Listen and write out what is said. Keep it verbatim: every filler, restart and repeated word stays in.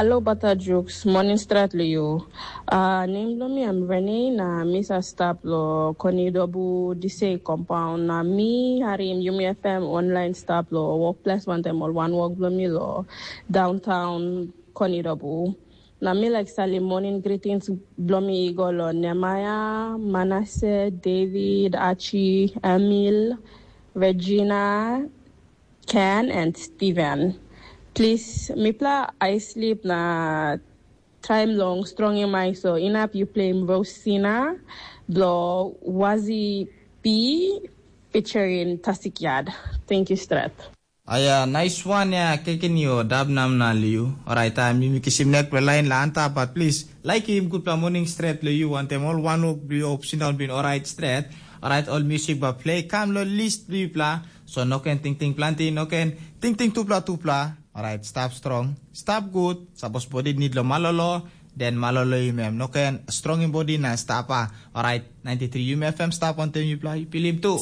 Alo bata juks, morning strat lo yu. Uh, nem blo mi am Rene na mi sa stap lo Konidobu Disei compound na mi harim Yumi F M online stap lo workplace wantaim ol wan wok blo mi lo downtown Konidobu. Na mi like salim morning greetings blo mi i go lo Nemaya, Manase, David, Achi, Emil, Regina, Ken and Steven. Please, mipela I sleep na time long stronging my so inap you play Rosina blo Wazi P featuring Tasik Yad. Thank you, Strat. Aya, nice one ya, keken yo, dab nam na liu. Alright, time mi kisim nek pe line la anta, but please, like him good morning straight lo you, want them all one up, you up, sit down, been alright straight. Alright, all music ba play, kam lo list bli bla. So no can ting ting planti, no can ting ting tupla tupla. Alright, stop strong, stop good. Suppose body need lo malolo, then malolo you mem. No can strong in body na stop ah. Alright, ninety-three U M F M stop on them you play, you feel him too.